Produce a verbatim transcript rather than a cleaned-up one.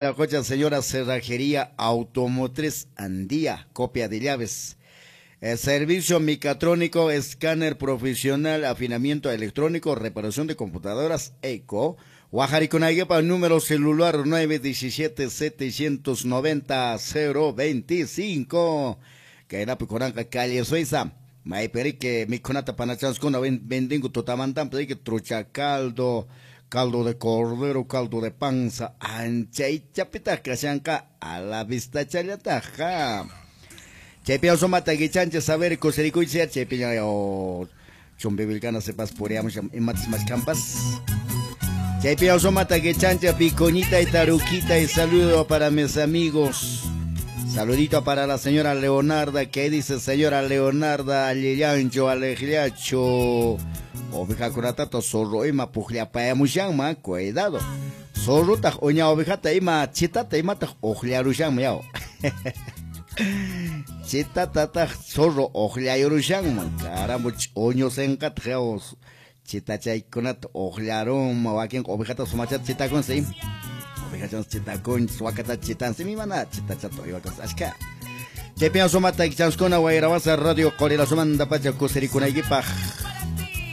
Cocha, señora Cerrajería Automotriz Andía, copia de llaves. Eh, servicio mecatrónico, escáner profesional, afinamiento electrónico, reparación de computadoras, eco. Guajaricunayguepa, número celular nueve diecisiete setecientos noventa cero veinticinco. Kainapi Coranca, calle Suiza. Maiperique, mikunata panachanskuna, vendingo tutamantampa, trucha caldo, caldo de cordero, caldo de panza, anchaychapita kashanka, a la vista challataja. Chaypi sumata guichancha saber kusirikuycha, chaypi o chumbivilcana sepas puriamos imatas más campas. Chaypi sumata guichancha picoñita y taruquita y saludo para mis amigos. Saludito para la señora Leonarda, que dice señora Leonarda, alillancho, alegliacho. Oveja curatato, zorro ima pujllapayamushanma, cuidado. Zorro taj uña ovejata ima chitata imataq uqllarushanma yaw. Chitatataq zorro uqllayurushanman, caramba, uño senqataq yaw. Chitachaykunata uqllarunma, wakin ovejata sumachata chitakunsi. Ovejachans chitakunchis, wakata chitansi, mimana chitachata uywakas ashka. Chaypiña sumata ichanskuna wayrawasa radio Qorila sumanta pacha kusirikunaykipaq.